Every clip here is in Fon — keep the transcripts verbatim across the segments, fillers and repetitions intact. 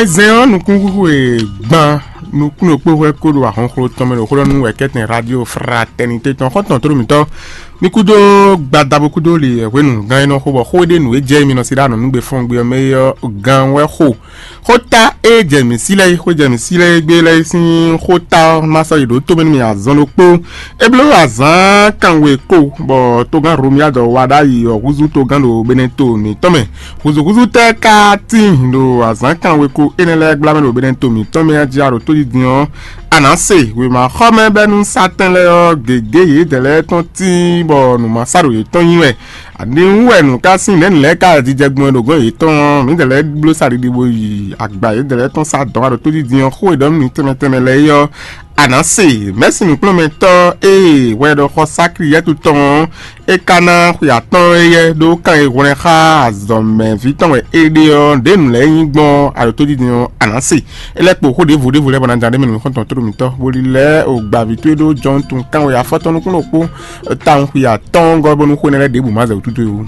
Zɛn ɔ́ nukúnxwixwe gban nukúnnukpó hwɛ kó ɖo ahɔnxló tɔn mɛ ɖo xó ɖɔ nú wɛ̌kɛ́tɛn Radio Fraternité tɔn xɔ́ntɔn tló mǐtɔn. Mi kúdó gbadabo kúdó li hwenu gán e nɔ xo bɔ xó ɖé nǔ e jɛ mi nɔ sí ɖo anɔ̌nugbe fɔ́n gbe ɔ́ mɛ é ɔ́ gán wɛ xo. Xóta e jɛ mǐ sí lɛ́ɛ é, xó jɛ mǐ sí lɛ́ɛ é gbé lɛ́ɛ é sín xóta ɔ́, má sɔ́ yi ɖǒ tó mɛ nú mi azɔn ɖokpó. É bló azǎn kanwe kó, bɔ togán Romiadɔ wá ɖ'ayǐ ɔ́ húzú togán ɖo Beneto mǐtɔn mɛ. Húzúhúzú tɛ́ ka tíin ɖo azǎn kanwe kó énɛ́ lɛ́ɛ gbla mɛ ɖo Beneto mǐtɔn mɛ jí a ɖo tójijin ɔ́, a nǎ se wěma xɔ mɛ bɛ́ nú satɛn lɛ́ɛ ɔ́ gěgé yědɛɛ lɛ́ɛ tɔn tíin bɔ nǔ ma sa ɖo yětɔn nyi wɛ. Aniwú wɛ nǔ ká sín nɛ̌ nǔ lɛ́ɛ ka jijɛ gbɔn ɖo gɔ́n yětɔn ɔ́, mǐdɛɛ lɛ́ɛ bló sa ɖiɖi bó yi agba yědɛɛ lɛ́ɛ tɔn sá dɔ̌n wá ɖo tójijin ɔ́, xó e ɖɔ nú mi tɛnmɛ tɛnmɛ lɛ́ɛ é ɔ́, a nǎ se. Mɛ̌si nǔkplɔ́nmɛtɔ́ e hwɛ ɖɔ xɔ Sakliyɛ́tu tɔn ɔ́, é ka ná xwe atɔ́ɔ́n éyɛ́ ɖó kan e hwlɛ́n xá azɔ̌mɛví tɔn wɛ é ɖe ɔ́, ɖěnu lɛ́ɛ nyí gbɔn aɖǒtójijɛ ɔ́, a nǎ se. É lɛ́ kpo xó ɖěvo ɖěvo lɛ́ɛ bɔ ná ján ɖ'é mɛ nú xɔ́ntɔn tóɖo mǐtɔn, bó lílɛ́ o gbaví towe ɖó Jɔ́ɔn tun kánwe afɔtɔn nukúnnú ɖokpó, tawun xwe atɔ́ɔ́n gɔ́ bónú xó énɛ́ lɛ́ɛ ɖěbǔ má zɛ wǔ tútú é wú.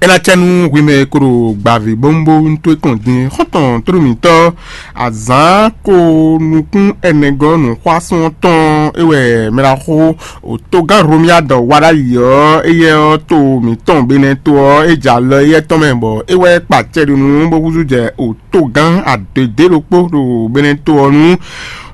É ná cɛ nú hwi mɛ e ko ɖo gbǎví bónbónú towe kɔn din xɔ́ntɔn tlóló mǐtɔn azǎn ko nukún ɛnɛgɔ́ nǔxwásún ɔ́ tɔn é wɛ mɛɖaxó òtógán Romiadɔ wa ɖ'ayǐ ɔ́, éyɛ́ ɔ́ to mǐtɔn Benɛto ɔ́, é jɛ alɔ éyɛ́ tɔn mɛ bɔ é wɛ kpa acɛ ɖo nú bó húzú jɛ òtógán adedě ɖokpó ɖo Benɛto ɔ́ nu.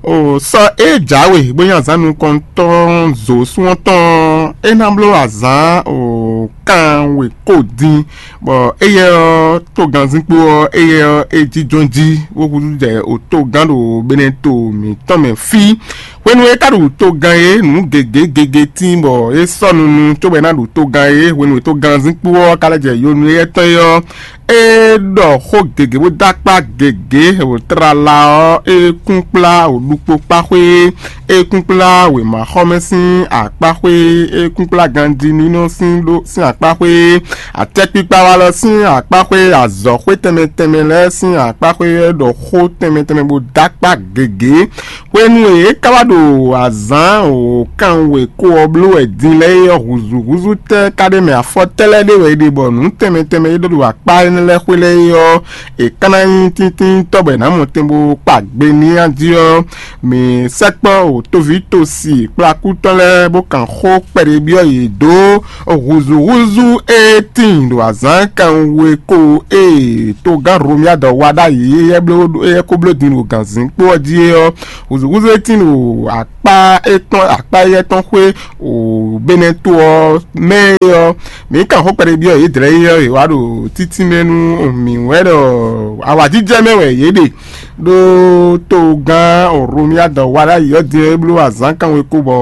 O sɔ e jǎwe bó nyí azǎn nukɔntɔn zǒsún ɔ́ tɔn ɔ́, é ná bló azǎn o kanwe kó dín, bɔ éyɛ́ ɔ́ togannzínkpo ɔ́, éyɛ́ ɔ́ é jínjɔ́n jí bó húzú jɛ o togán ɖo Benɛto mǐtɔn mɛ fí. Hwenu e é ka ɖo togán é, nǔ gěgé gěgé tíin bɔ é sɔ́ nunu cóbɔ é ná ɖo togán é. Hwenu e togannzínkpo ɔ́ ka lɛ́ jɛ yo nú éyɛ́ tɔn é ɔ́, é ɖɔ xó gěgé bó dó akpá gěgé, wǒ tlala ɔ́, é kún kplá wǒ ɖukpó kpá xwé, é kún kplá wěmaxɔmɛ sín akpá xwé, é kún kplá ganjí nínɔ sín ɖó sín akpá xwé, atɛ́kpikpa walɔ sín akpá xwé, azɔ̌xwé tɛnmɛ tɛnmɛ lɛ́ɛ sín akpá xwé, é ɖɔ xó tɛnmɛ tɛnmɛ bó dó akpá gěgé. Hwenu e é ka wá ɖo azǎn wǒkanwe kó ɔ́ bló wɛ din lɛ́ɛ é ɔ́, hǔzúhúzú tɛ́ ka ɖ'é mɛ? Afɔ tɛ́ lɛ́ɛ ɖé wɛ é ɖe bɔ nǔ tɛnmɛ tɛnmɛ e ɖó ɖo akpá énɛ́ lɛ́ɛ xwé lɛ́ɛ é ɔ́, è ka ná nyí tíntíntɔ́ bɔ è nǎ mɔ tɛn bó kpa gbe n'i a jí ɔ́, mǐ sɛkpɔ́ wǒ tóví tosi kplakútɔ́ lɛ́ɛ bó kan xó kpɛɖé byɔ́ yě dó hǔzúhúzú e tíin ɖo azǎn kanwe kó e togán Romiadɔ wa ɖ'ayǐ éyɛ́ bló éyɛ́ ko bló din ɖo gǎnzínkpo ɔ́ jí é ɔ́, hǔzúhúzú e tíin ɖo akpá étɔn akpá éyɛ́ tɔn xwé o Benɛto ɔ́ mɛ é ɔ́, mǐ kan xó kpɛɖé byɔ́ yě dlɛ̌ é ɔ́, yě wá ɖo títínmɛ nú mǐ wɛ ɖɔ awǎjijɛ mɛ wɛ yě ɖe. Ɖó togán Romiadɔ wa ɖ'ayǐ ɔ́ din é bló azǎn kanwe kó bɔ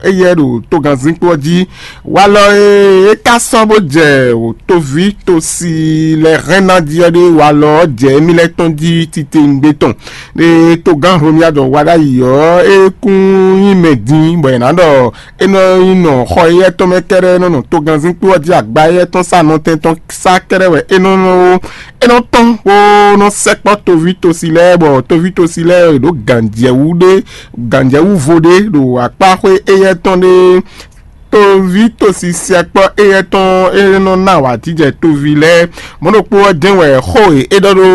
éyɛ́ ɖo togannzínkpo ɔ́ jí. Walɔ e é ka sɔ́ bó jɛ wǒtóví tosi lɛ́ hɛn ná jí ɔ́ ɖé, walɔ ɔ́ jɛ émí lɛ́ɛ tɔn jí titewungbe tɔn. Ɖé togán Romiadɔ wa ɖ'ayǐ ɔ́, é kún nyí mɛ din bɔ è nǎ ɖɔ é nɔ nyí nɔ xɔ éyɛ́ tɔn mɛ kɛ́ɖɛ́ nɔ nɔ togannzínkpo ɔ́ jí agba éyɛ́ tɔn sá nɔtɛn tɔn sá kɛ́ɖɛ́ wɛ é nɔ nɔ é nɔ tɔ́n bó nɔ sɛkpɔ́ toví tosi lɛ́ɛ, bɔ toví tosi lɛ́ɛ è ɖǒ gǎnjɛwú ɖé gǎnjɛwú vo ɖé ɖo akpá xwé éyɛ́ tɔn ɖé. Toví tosi sɛkpɔ́ éyɛ́ tɔn é nɔ ná awǎjijɛ toví lɛ́ɛ. Mɔ̌ ɖokpó ɔ́ jɛ́n wɛ xó e é ɖɔ ɖó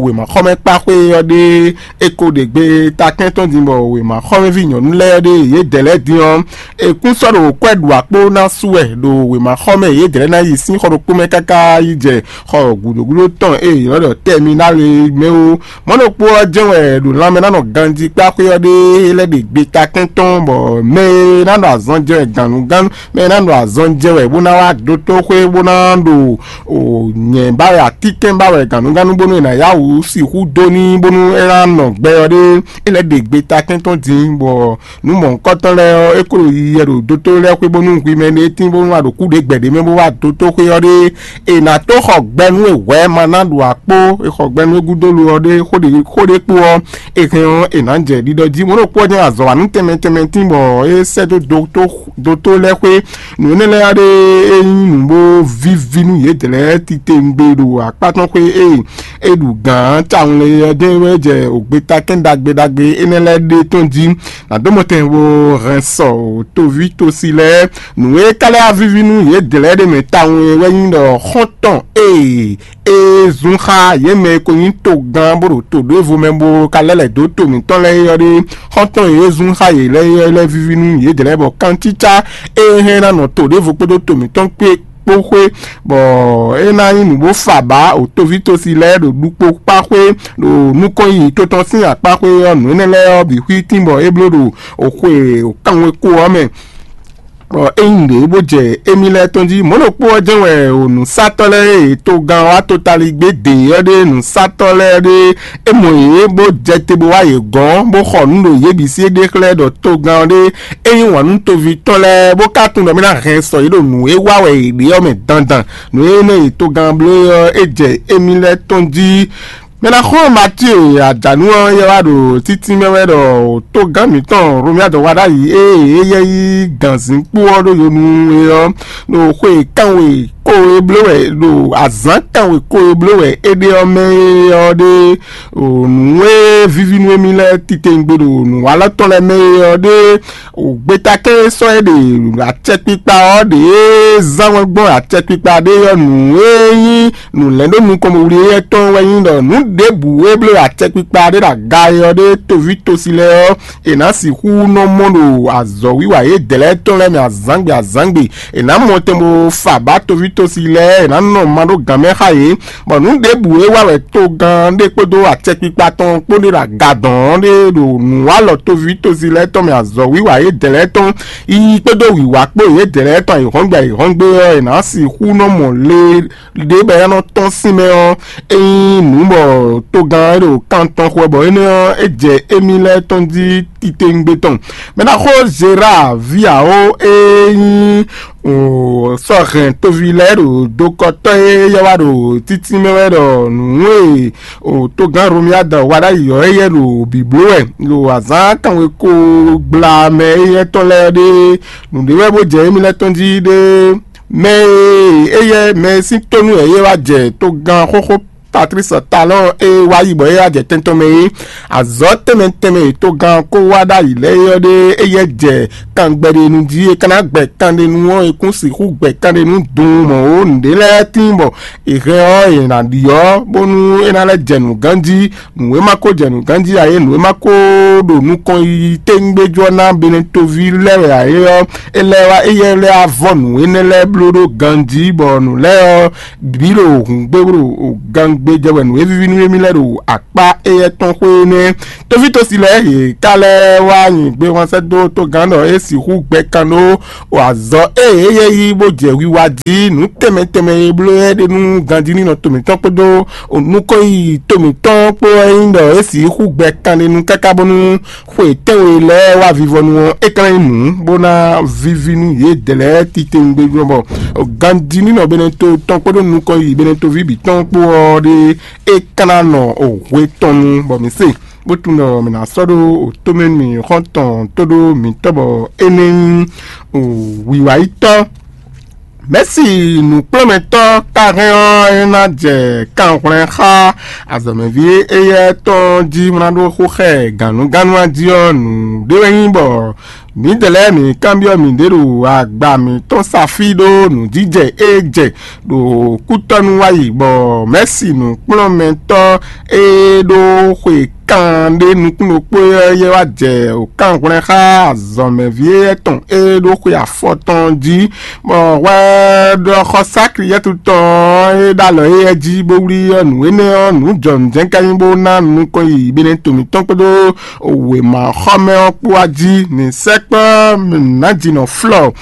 wěmaxɔmɛ kpá xwé ɔ́ ɖe é ko ɖe gbe takɛ́n tɔn din bɔ wěmaxɔmɛví nyɔ̌nu lɛ́ɛ ɖe yědɛɛ lɛ́ɛ din ɔ́, è kún sɔ́ ɖo kwɛ́ ɖu akpó ná sú wɛ ɖo wěmaxɔmɛ yědɛɛ lɛ́ɛ ná yi sín xɔ ɖokpó mɛ káká yi jɛ xɔ gǔdo gúdo tɔn e è nɔ ɖɔ tɛminál é mɛ ó. Mɔ̌ ɖokpó ɔ́ jɛ́n wɛ ɖo lanmɛ ná nɔ ganjí kpá xwé ɔ́ ɖe lɛ́ ɖe gbe takɛ́n tɔn, bɔ mɛ e ná ɖo azɔn jɛ wɛ gǎnnugánnu, mɛ e ná ɖo azɔn jɛ wɛ bó ná wá dótóxwé bó ná ɖo o nyɛ ba wɛ atínkɛn ba wɛ gǎnnugánnu bónú è nǎ yá wǔ sixú dó n'i bónú é ná nɔ gbɛ ɔ́ ɖé, é lɛ́ ɖe gbe takɛ́n tɔn din, bɔ nǔ mɔ̌hunkɔtɔn lɛ́ɛ ɔ́, é ko ɖo yiyi wɛ ɖo dótó lɛ́ɛ xwé bónú hwi mɛ ɖé tín bónú a ɖo kúɖě gbɛ̌ ɖé mɛ bó wá dótóxwé ɔ́ ɖé, è nǎ tó xɔ gbɛ nú e hwɛ̌ ma ná ɖo akpó, è xɔ gbɛ nú e gúdo lo ɔ́ ɖé, xó ɖé xó ɖé kpó ɔ́, è hɛn ɔ́, è nǎ jɛ ɖiɖɔ jí. Mɔ̌ ɖokpó ɔ́ jɛ́n azɔ̌ wa nú tɛnmɛ tɛnmɛ tín bɔ é sɛ́ dó dótó dótó lɛ́ɛ xwé. Nǔ énɛ́ lɛ́ɛ ɖe é nyí nǔ bó víví nú yědɛɛ lɛ́ɛ titewungbe ɖo akpá tɔn xwé ée é ɖu gǎn tawun lɛ́ɛ ɔ́, dɛ́n wɛ jɛ ògbeta kɛ́n ɖagbe ɖagbe énɛ́ lɛ́ɛ ɖe tɔn jí. Nǎ dó mɔtɛn bó hɛn sɔ toví tosi lɛ́ɛ. Nǔ e ka lɛ́ wá víví nú yědɛɛ lɛ́ɛ ɖe mɛ tawun é wɛ nyí ɖɔ xɔ́ntɔn ée é zún xá yě mɛ e ko nyí togán bó ɖo to ɖěvo mɛ bó ka lɛ́ lɛ̌ dó to mǐtɔn lɛ́ɛ é ɔ́ ɖe. Xɔ́ntɔn e é zún xá yě lɛ́ɛ é lɛ́ víví nú yědɛɛ lɛ́ɛ bɔ kantícá e hɛn ná nɔ to ɖěvo kpódó to mǐtɔn kpé kpó xwé, bɔ é ná nyí nǔ bó fa bǎ o toví tosi lɛ́ɛ ɖo ɖukpó kpá xwé, ɖo nukɔn yiyi to tɔn sín akpá xwé ɔ́, nǔ énɛ́ lɛ́ɛ ɔ́ bǐ xwítín bɔ é bló ɖo o xwe o kanwe kó ɔ́ mɛ. Bɔ é nyí nǔɖé bó jɛ émí lɛ́ɛ tɔn jí. Mɔ̌ ɖokpó ɔ́ jɛ́n wɛ o nǔsatɔ́ lɛ́ɛ e togán ɔ́ wá totaligbé dě ɔ́ ɖe nǔsatɔ́ lɛ́ɛ ɖe é mɔ yě bó jɛ te bó wá yě gɔ́n, bó xɔ nǔ ɖo yě bǐ sí é ɖe xlɛ́ ɖɔ togán ɔ́ ɖe é yí wǎn nú toví tɔn lɛ́ɛ, bó ka tunwun ɖɔ mì ná hɛn sɔ yě ɖo nǔ e wa wɛ yě ɖe ɔ́ mɛ dandan. Nǔ e mɛ yě togán bló é ɔ́, é jɛ émí lɛ́ɛ tɔn jí. Mɛ ná xo Matíe ajǎnú ɔ́ yɛ wá ɖo títí mɛ wɛ ɖɔ togán mǐtɔn Romia dɔ wá ɖ'ayǐ ée é yɛ yí gǎnzínkpo ɔ́ ɖó yo nú é ɔ́, ɖo xwe kanwe kó e bló wɛ, ɖo azǎn kanwe kó e bló wɛ é ɖe ɔ́ mɛ é ɔ́ ɖe, nǔ e víví nú émí lɛ́ɛ titewungbe ɖo nǔwalɔ tɔn lɛ́ɛ mɛ é ɔ́ ɖe. Gbeta kɛ́n e sɔ́ é ɖe acɛkpikpa ɔ́ ɖě zán wɛn gbɔn acɛkpikpa ɖé ɔ́, nǔ e nyí nǔ lɛ́ ɖó nukɔn bo wlí éyɛ́ tɔn wɛ nyí ɖɔ nǔ ɖěbǔ e bló acɛkpikpa ɖé ɖo aga é ɔ́ ɖé toví tosi lɛ́ɛ ɔ́, è nǎ sixú nɔ mɔ ɖo azɔ̌wiwa yědɛɛ lɛ́ɛ tɔn lɛ́ɛ mɛ azǎngbe azǎngbe. È nǎ mɔ tɛn bó fa bǎ toví tosi lɛ́ɛ, è nǎ nɔ ma ɖó gǎn mɛ xá yě. Bɔ nǔ ɖěbǔ e wa wɛ togán ɖé kpódó acɛkpikpa tɔn kpó ɖé ɖo aga dɔn ɔ́ ɖé ɖo nǔwalɔ toví tosi lɛ́ɛ tɔn mɛ azɔ̌wiwa yědɛɛ lɛ́ɛ tɔn yiyi kpódó wǐwá kpó yědɛɛ lɛ́ɛ tɔn ayǐhɔ́ngbe ayǐhɔ́ngbe ɔ́, è nǎ sixú nɔ mɔ le ɖě bɔ é nɔ tɔ́n sín mɛ ɔ́, é nyí nǔ bɔ togán e ɖo kan tɔn xwɛ bɔ énɛ́ ɔ́, é jɛ émí lɛ́ɛ tɔn jí titewungbe tɔn. Mɛ ná xó Zera ví awo e nyí sɔ́ hɛn toví lɛ́ɛ ɖo dokɔtɔ́ e yɛ wá ɖo títí mɛ wɛ ɖɔ nǔ e togán Romia da wa ɖ'ayǐ ɔ́, éyɛ́ ɖo bǐbló wɛ ɖo azǎn kanwe ko gbla mɛ éyɛ́ tɔn lɛ́ɛ ɖe. Nǔɖé wɛ bó jɛ émí lɛ́ɛ tɔn jí ɖe. Mɛ e éyɛ́ mɛ e sín tónú wɛ é wá jɛ togán xóxó Patlísi Talɔ́ɔn e wá yi bɔ é wá jɛ tɛn tɔn mɛ é, azɔ̌ tɛnmɛ tɛnmɛ e togán ko wá ɖ'ayǐ lɛ́ɛ é ɔ́ ɖe, éyɛ́ jɛ kangbɛɖenu jí. É ka ná gbɛ kanɖenu ɔ́, é kún sixú gbɛ kanɖenu dun mɔ̌ ó. Nǔɖé lɛ́ɛ tíin bɔ è hɛn ɔ́, è nǎ ɖiɔ́ bónú é ná lɛ́ jɛ nǔ ganjí. Nǔ e ma ko jɛ nǔ ganjí ǎ é, nǔ e ma ko ɖo nukɔn yiyi téŋgbéjú ɔ́ ná Benetoví lɛ́ɛ wɛ ǎ é ɔ́, é lɛ́ wá éyɛ́ lɛ́ wá vɔ́ nǔ énɛ́ lɛ́ɛ bló ɖó ganjí, bɔ nǔ lɛ́ɛ ɔ́ bǐ ɖo hǔngbéwlo gangbé jɛ wɛ nǔ e víví nú émí lɛ́ɛ ɖo akpá éyɛ́ tɔn xwé énɛ́. Tóvítosi lɛ́ɛ yě ká lɛ́ wá nyi gbéhɔnsɛ́ dó togán ɖɔ é sixú gbɛ kan ɖó azɔ̌ e é yɛ yí bó jɛ wiwa jí. Nǔ tɛnmɛ tɛnmɛ e bló é ɖe nú ganjí nínɔ to mǐtɔn kpódó nukɔn yiyi to mǐtɔn kpó wɛ nyí ɖɔ é sixú gbɛ kanɖenu káká bónú xwe tɛ́nwe lɛ́ɛ wá vivɔnu ɔ́, é ka ná nyí nǔ bó ná víví nú yědɛɛ lɛ́ɛ titewungbe bɔ ganjí nínɔ Beneto tɔn kpódó nukɔn yiyi Benetoví bǐ tɔn kpó ɔ́ ɖe é ka ná nɔ hwe tɔn nu bɔ mǐ se bó tunwun ɖɔ mǐ ná sɔ́ ɖó tomɛ nú mǐ xɔ́ntɔn tó ɖó mǐtɔn bɔ é nɛ́ nyí wǐwáyítɔ́. Mɛ̌si nǔkplɔ́nmɛtɔ́ ka hɛn ɔ́, é ná jɛ kanhwlɛ́n xá azɔ̌mɛví éyɛ́ tɔn jí bó ná ɖó xó xá ɛ gǎnnugánnu jí ɔ́, nǔɖé wɛ nyí bɔ mǐdɛɛ lɛ́ɛ mǐ kanbyɔ́ mǐɖée ɖo agba mǐtɔn sa fí ɖó nǔjijɛ e jɛ ɖo kútɔ́nú wá yi, bɔ Mɛ̌si nǔkplɔ́nmɛtɔ́ e ɖó xwe kan ɖé nukún ɖokpó ɔ́ yɛ wá jɛ wǒkanhwlɛ́n xá azɔ̌mɛví éyɛ́ tɔn e ɖó xwe afɔ tɔn jí, bɔ hwɛ ɖɔ xɔsákli yɛ́tutɔn e ɖo alɔ éyɛ́ jí bó wlí ɔ́, nǔ énɛ́ ɔ́, nǔ jɔnǔjɛ́n ka nyí bó ná nukɔn yiyi Beneto mǐtɔn kpódó wěmaxɔmɛ ɔ́ kpó wá jí. Mǐ sɛkpɔ́ nǎjinɔ Flɔ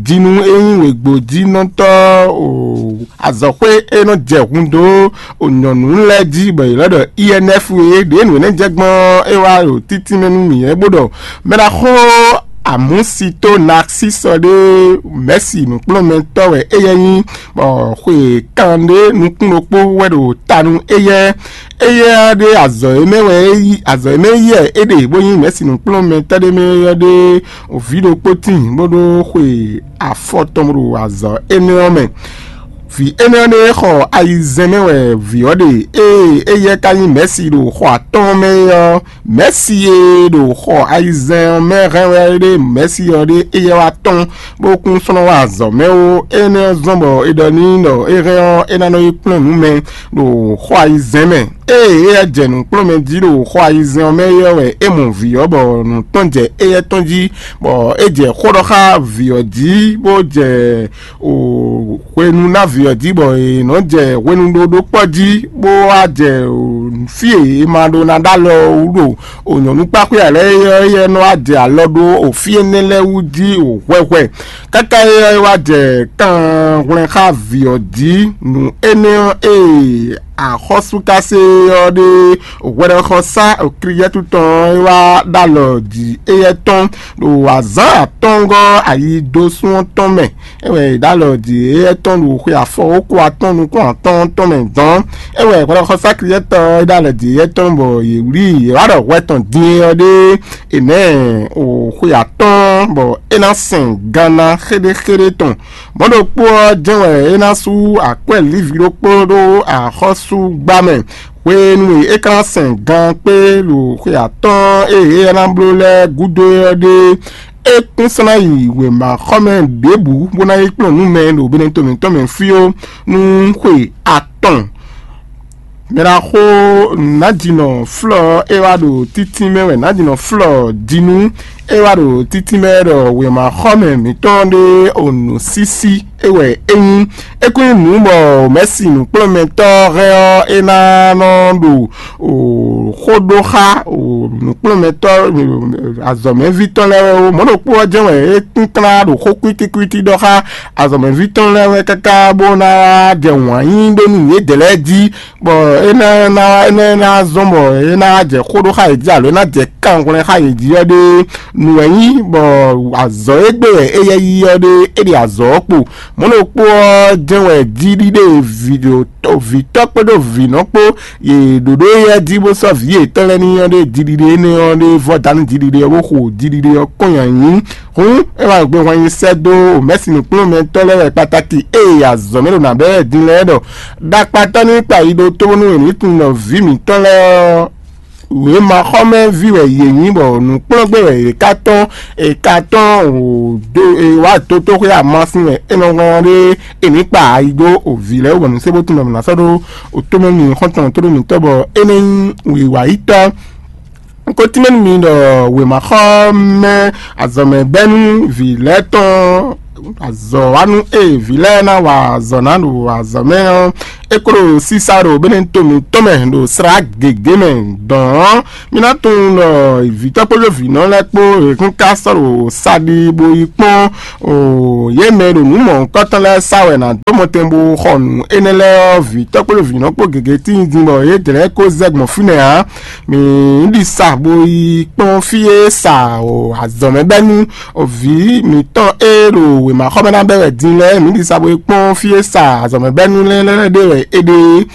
jinu e nyí wěgbojínɔtɔ́ azɔ̌xwé e nɔ jɛ hun dó nyɔ̌nu lɛ́ɛ jí bɔ yě lɛ́ ɖɔ I N F é. Ɖě nǔ énɛ́ jɛ gbɔn é wá ɖo títí mɛ nú mǐ é bó ɖɔ mɛ ná xo Amúsitó Naxísɔ ɖé, mɛ̌si nǔkplɔ́nmɛtɔ́ wɛ éyɛ́ nyí, bɔ xwe kanɖé nukún ɖokpó wɛ ɖo ta nú éyɛ́. Éyɛ́ ɖé azɔ̌ e mɛ wɛ é yí, azɔ̌ e mɛ yí wɛ é ɖe bó nyí mɛ̌si nǔkplɔ́nmɛtɔ́ ɖé mɛ ɔ́ ɖé vǐ ɖokpó tíin bó ɖó xwe afɔ tɔn ɖo azɔ̌ énɛ́ ɔ́ mɛ. Vǐ énɛ́ ɔ́ ɖé xɔ ayizɛ́n mɛ wɛ vǐ ɔ́ ɖe, ée éyɛ́ ka nyí mɛ̌si ɖo xɔ atɔ́ɔ́n mɛ é ɔ́, mɛ̌si e ɖo xɔ ayizɛ́n ɔ́ mɛ hɛn wɛ ɖé mɛ̌si ɔ́ ɖé éyɛ́ wá tɔ́n bó kún slɔ́n wá azɔ̌ mɛ ó. Énɛ́ ɔ́ zɔ́n bɔ è ɖɔ n'i ɖɔ é hɛn ɔ́, é ná nɔ yi kplɔ́n nǔ mɛ ɖo xɔ ayizɛ́n mɛ. Ée éyɛ́ jɛ nǔkplɔ́nmɛ jí ɖo xɔ ayizɛ́n ɔ́ mɛ é ɔ́ wɛ é mɔ vǐ ɔ́, bɔ nǔ tɔn jɛ éyɛ́ tɔn jí, bɔ é jɛ xó ɖɔ xá vǐ ɔ́ jí, bó jɛ o hwenu ná vǐ ɔ́ jí, bɔ è nɔ́ jɛ hwenu ɖó ɖó kpɔ́ jí, bó wá jɛ o fí e è ma ɖó ná ɖó alɔ wú ɖo o nyɔ̌nu kpáxwé ǎ lɛ́ɛ é ɔ́, éyɛ́ nɔ wá jɛ alɔ ɖó o fí énɛ́ lɛ́ɛ wú jí o hwɛhwɛ. Káká é ɔ́, é wá jɛ kan hwlɛn xá vǐ ɔ́ jí. Nǔ énɛ́ ɔ́, ée axɔ́súkase ɔ́ ɖe hwɛɖɔxɔsá Kliyɛ́tu tɔn ɔ́, é wá ɖó alɔ jǐ éyɛ́ tɔn ɖo azǎn atɔ́ɔ́ngɔ́ ayi dó sún ɔ́ tɔn mɛ. É wɛ è ɖó alɔ jǐ éyɛ́ tɔn ɖo xwe afɔ wókú atɔ́ɔ́n nukún atɔ́ɔ́n tɔn mɛ dɔn. É wɛ hwɛɖɔxɔsá Kliyɛ́tɔn ɔ́ ɖó alɔ jǐ éyɛ́ tɔn bɔ yě wlí yě wá ɖɔ hwɛ tɔn din ɔ́ ɖé è nɛ̌ o xwe atɔ́ɔ́n bɔ é ná sɛn ganna xéɖéxéɖé tɔn. Mɔ̌ ɖokpó ɔ́ jɛ́n wɛ é ná sú akwɛ́ lǐvi ɖokpó ɖó axɔ́súgbá mɛ. Hwenu e é ka ná sɛn gan kpé ɖo xwe atɔ́ɔ́n e é ná bló lɛ́ɛ gúdo é ɔ́ ɖe, é kún sɔ́ ná yi wěmaxɔmɛ ɖěbǔ bó ná yi kplɔ́n nǔ mɛ ɖo Benɛto mǐtɔn mɛ fí ó, nú xwe atɔn. Mɛɖaxó Nǎjínɔ Flɔ é wá ɖo títí mɛ wɛ, Nǎjínɔ Flɔ Dinu é wá ɖo títí mɛ ɖɔ wěmaxɔmɛ mǐtɔn ɖé o nǔsísí é wɛ é nyí. É kún nyí nǔ bɔ mɛ̌si nǔkplɔ́nmɛtɔ́ hɛn ɔ́, é ná nɔ ɖo o xó ɖó xá o nǔkplɔ́nmɛtɔ́ azɔ̌mɛví tɔn lɛ́ɛ wɛ ó. Mɔ̌ ɖokpó ɔ́ jɛ́n wɛ é kún tlá ɖo xó kwítíkwítí ɖɔ xá azɔ̌mɛví tɔn lɛ́ɛ wɛ káká bó ná jɛ wǎn yí ɖó nú yědɛɛ lɛ́ɛ jí, bɔ é ná ná é ná ná zɔ́n bɔ é ná jɛ xó ɖó xá yě jí alo é ná jɛ kanhwlɛ́n xá yě jí ɔ́ ɖé nǔ wɛ nyí, bɔ azɔ̌ e gbe wɛ éyɛ́ yí ɔ́ ɖé é ɖe azɔ̌ ɔ́ kpo. Mɔ̌ ɖokpó ɔ́ jɛ́n wɛ jí ɖíɖe vǐ ɖo vǐtɔ́ kpódó vǐnɔ kpó yě ɖǒɖó éyɛ́ jí bó sɔ́ vǐ yětɔn lɛ́ɛ ní ɔ́ ɖé jiɖiɖe énɛ́ ɔ́ ɖé vɔ́ dá nú jiɖiɖe ɔ́ bó xo jiɖiɖe ɔ́ kɔn nyi ayǐ. Hǔn é wá gbe hwan nyi sɛ́ dó mɛ̌si nǔkplɔ́nmɛtɔ́ lɛ́ɛ wɛ kpataki ée azɔ̌ mɛ ɖo nǎ bɛ́ wɛ din lɛ́ɛ ɖɔ ɖakpatɔ́ ní kpa yi ɖó tó bónú è ní tunwun ɖɔ vǐ mǐtɔn lɛ́ɛ ɔ́, wěmaxɔmɛví wɛ yě nyí, bɔ nǔkplɔ́ngbé wɛ yě ka tɔ́n, è ka tɔ́n wǒ dó è wá dó tóxwé amasin wɛ é nɔ hɔn ɖé è ní kpa ayi dó òvǐ lɛ́ɛ wú bɔ nǔ sé bó tunwun ɖɔ mǐ ná sɔ́ ɖó òtómɛ mì xɔ́ntɔn tó ɖó mǐtɔn bɔ é ní nyí wǐwayítɔ́. Un ko tínmɛ nú mi ɖɔ wěmaxɔmɛ azɔ̌mɛbɛ́nú vǐ lɛ́ɛ tɔn azɔ̌ wa nú ée vǐ lɛ́ɛ ná wa azɔ̌ ná ɖo azɔ̌ mɛ ɔ́, é kó ɖo sísá ɖo Benɛto mǐtɔn mɛ ɖo slá gěgé mɛ dɔ̌n ɔ́, mi ná tunwun ɖɔ vǐtɔ́ kpódó vǐnɔ lɛ́ɛ kpó è kún ka sɔ́ ɖo sa ɖi bó yi kpɔ́n o yě mɛ e ɖo nǔ mɔ̌hunkɔtɔn lɛ́ɛ sa wɛ ná dó mɔtɛn bó xɔ nǔ énɛ́ lɛ́ɛ ɔ́, vǐtɔ́ kpódó vǐnɔ kpó gěgé tíin din bɔ yě dlɛ̌ kó zɛ gbɔn fínɛ́ ǎ. Mǐ ɖi sa bo yi kpɔ́n fí e sa o azɔ̌mɛbɛ́nú o vǐ mǐtɔn e ɖo wěmaxɔmɛ ná bɛ́ wɛ din lɛ́ɛ. Mǐ ɖi sa bo yi kpɔ́n fí e sa azɔ̌mɛbɛ́nú lɛ́ɛ lɛ́ɛ ɖe wɛ é ɖe.